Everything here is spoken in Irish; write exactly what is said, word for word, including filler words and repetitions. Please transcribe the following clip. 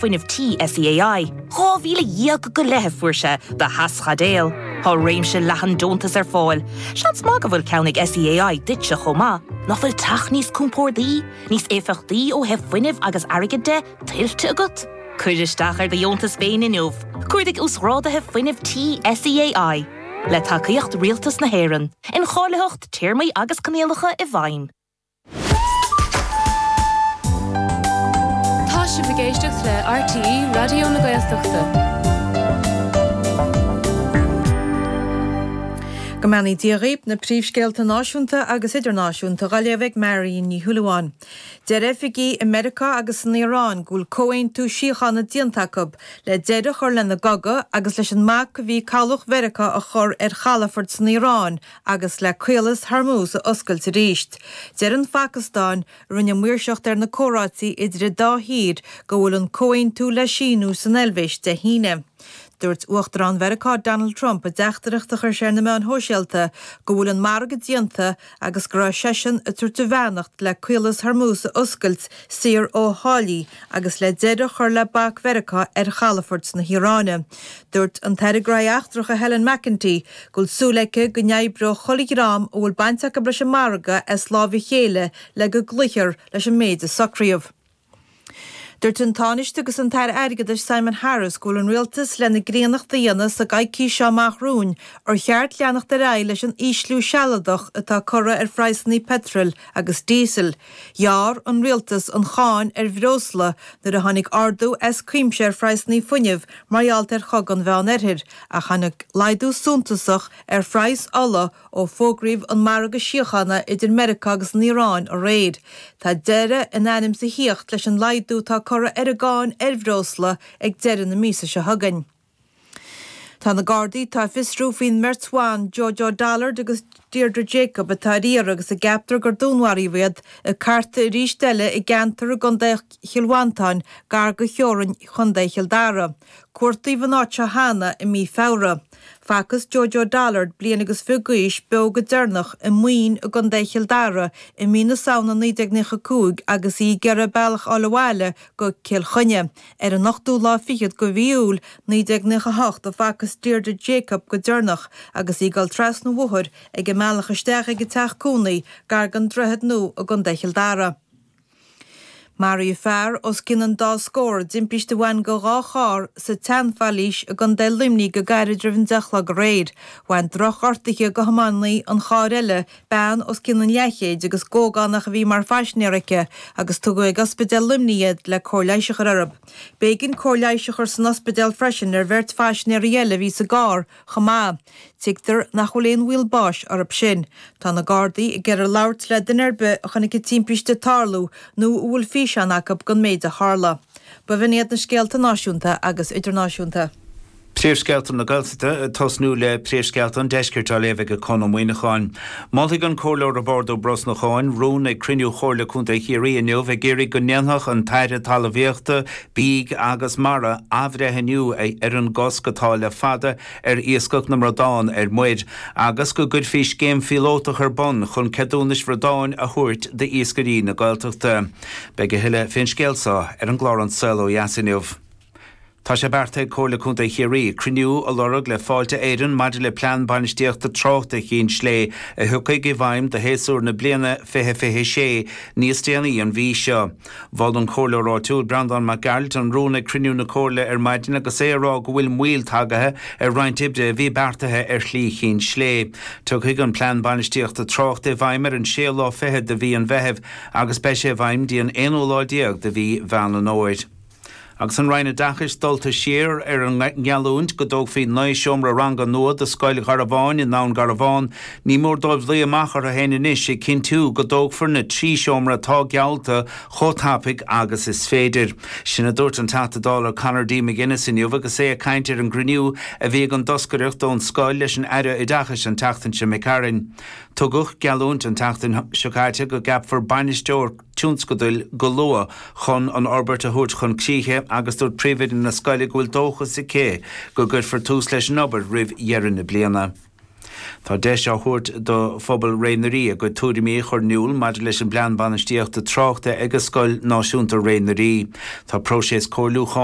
Fuinnimh Tí SEAI. Dhá mhíle dhéag go leith a fuair sé do theaschaidéal. Tá réimse leathan deontas ar fáil. Seans maith go bhfuil ceann ag SEAI duitse chomh maith, nach bhfuil teach níos compordaí, níos éifeachtaí ó thaobh fuinnimh agus airgid de tuillte agat? Cuir isteach ar do dheontas féin inniu. Cuardaigh uasghráduithe fuinnimh tí SEAI. Le tacaíocht Rialtas na hÉireann, incháilitheacht, téarmaí agus coinníollacha i bhfeidhm. Tá sibh ag éisteacht le RTÉ Raidió na Gaeltachta. Go mbeannaí Dia dhaoibh, na príomhscéalta náisiúnta agus idirnáisiúnta á léamh ag Marion Ní Shúilleabháin. Deir oifigigh i Meiriceá agus san Iaráin go bhfuil comhaontú síochána déanta acu le deireadh a chur lena gcogadh agus leis an mbac a bhí cabhlach Mheiriceá a chur ar chalafoirt san Iaráin agus le Caolas Hormuz a oscailt arís. Deir an Phacastáin, a rinne maoirseacht ar na comhráití idir an dá thír, go bhfuil an comhaontú le síniú san Eilvéis Dé hAoine. Dúirt Uachtarán Mheiriceá Donald Trump i dteachtaireacht a chuir sé ar na meáin shóisialta go bhfuil an margadh déanta agus go raibh seisean ag tabhairt a bheannacht le Caolas Hormuz a oscailt saor ó tháillí agus le deireadh a chur le bac Mheiriceá ar chalafoirt na hIaráine. Dúirt an tAire Gnóthaí Eachtracha Helen McEntee go bhfuil súil aici go n-oibreoidh chuile dhream a bhfuil baint acu leis an margadh as lámh a chéile le go gcloífear leis an méid a socraíodh. Dúirt an Tánaiste agus an tAire Airgeadais Simon Harris go bhfuil an Rialtas lena gcríonnacht a dhéanamh sa gcoicís seo amach romhainn ar cheart leanacht ar aghaidh leis an ísliú sealadach atá curtha ar phraghsanna peitril agus díosail. Ghearr an Rialtas an cháin ar bhreosla nuair a tháinig ardú as cuimse ar phraghsanna fuinnimh mar gheall ar Chogadh an Mheán-Oirthir ach tháinig laghdú suntasach ar phraghas ola ó fógraíodh an margadh síochána idir Meiriceá agus an Iaráin aréir. Tá deireadh in ainm is a thíocht leis an laghdú atá curtha ar an gcáin ar bhreosla ag deireadh na míosa seo chugainn. Tá na Gardaí atá ag fiosrú faoin mbeirt bhan, Jojo Dollard agus Deirdre Jacob, atá ar iarraidh agus a gceaptar gur dúnmharaíodh iad, ag cartadh arís eile i gceantar i gContae Chill Mhantáin, gar do theorainn Chontae Chill Dara. Cuartaíodh an áit seo cheana i mí Feabhra. Facthas Jojo Dollard, bliain agus fiche d'aois, beo go deireanach i Maoin i gContae Chill Dara i mí na Samhna naoi déag nócha a cúig agus í ag iarraidh bealach a fháil abhaile go Cill Chainnigh. Ar an ochtú lá fichead de mhí Iúil naoi déag nócha a hocht a facthas Deirdre Jacob go deireanach agus í ag dul trasna an bhóthair ag an mbealach isteach ag an teach cónaí gar don Droichead Nua i gContae Chill Dara. Maraíodh fear os cionn an dá scór i dtimpiste a bhain de dhá charr sa tSeanphailís i gContae Luimnigh go gairid roimh an deich a chlog aréir. Bhain drochghortuithe do thiománaí an chairr eile, bean os cionn an leathchéid agus ógánach a bhí mar phaisinéir aici, agus tugadh ag Ospidéal Luimnigh iad le cóir leighis a chur orthu. B'éigean cóir leighis a chur san ospidéal freisin ar bheirt phaisinéirí eile a bhí sa gcarr chomh maith. Tuigtear nach bhfuil aon bhaol báis orthu sin. Tá na Gardaí ag iarraidh labhairt le duine ar bith a chonaic an timpiste ag tarlú nó a bhfuil físeán acu den méid a tharla. B'in iad na scéalta náisiúnta agus idirnáisiúnta. Príomhscéalta na Gaeltachta, ag tosnú le príomhscéalta an Deiscirt á léamh ag Conn Ó Muíneacháin. Molfaidh an Comhairleoir Roibeárd Ó Brosnacháin rún ag cruinniú Chomhairle Contae Chiarraí inniu ag iarraidh go ndéanfadh an tAire Talmhaíochta, Bídh agus Mara athbhreithniú ar an gcosc atá le fada ar iascach na mbradán ar muir agus go gcuirfí scéim phíolótach ar bun chun ceadúnais bhradáin a thabhairt d'iascairí na Gaeltachta. Beidh a thuilleadh fén scéal seo ar an gclár An Saol Ó Dheas inniu. Tá sé beartaithe ag Comhairle Contae Chiarraí cruinniú a lorg le Fáilte Éireann maidir le Plean Bainistíochta Tráchta Chinn Slé a thiocfaidh i bhfeidhm do shéasúr na bliana fiche fiche sé níos déanaí an mhí seo. Mhol an Comhairleoir áitiúil Breandán Mac Gearailt an rún ag cruinniú na Comhairle ar maidin agus é ag rá go bhfuil moill tagaithe ar roinnt oibre a bhí beartaithe ar Shlí Chinn Slé. Tiocfaidh an Plean Bainistíochta Tráchta i bhfeidhm ar an séú lá fichead de mhí an Mheithimh agus beidh sé i bhfeidhm dtí an aonú lá déag de mhí Mheán an Fhómhair. Agus an Roinn Oideachais dulta siar ar an ngeallúint go dtógfaí naoi seomra ranga nua do Scoil Gharbháin i nDún Garbhán, ní mór dóibh luí amach orthu féin anois ag cinntiú go dtógfar na trí seomra atá geallta chomh tapaidh agus is féidir. Sin a dúirt an Teachta Dála Conor D. McGuinness inniu agus é ag caint ar an gcruinniú a bhí ag an dtoscaireacht ón scoil leis an Aire Oideachais an tseachtain seo imigh tharainn. Tugadh geallúint an tseachtain seo caite go gceapfar bainisteoir tionscadail go luath chun an fhorbairt a thabhairt chun críche agus dúirt príomhoide na scoile go bhfuil dóchas aici go gcuirfear tús leis an obair roimh dheireadh na bliana. Tá deis á thabhairt do phobal Ré na Rí a gcuid tuairimí a chur in iúl maidir leis an bplean bainistíochta tráchta ag Scoil Náisiúnta Ré na Rí. Tá próiseas comhairliúcháin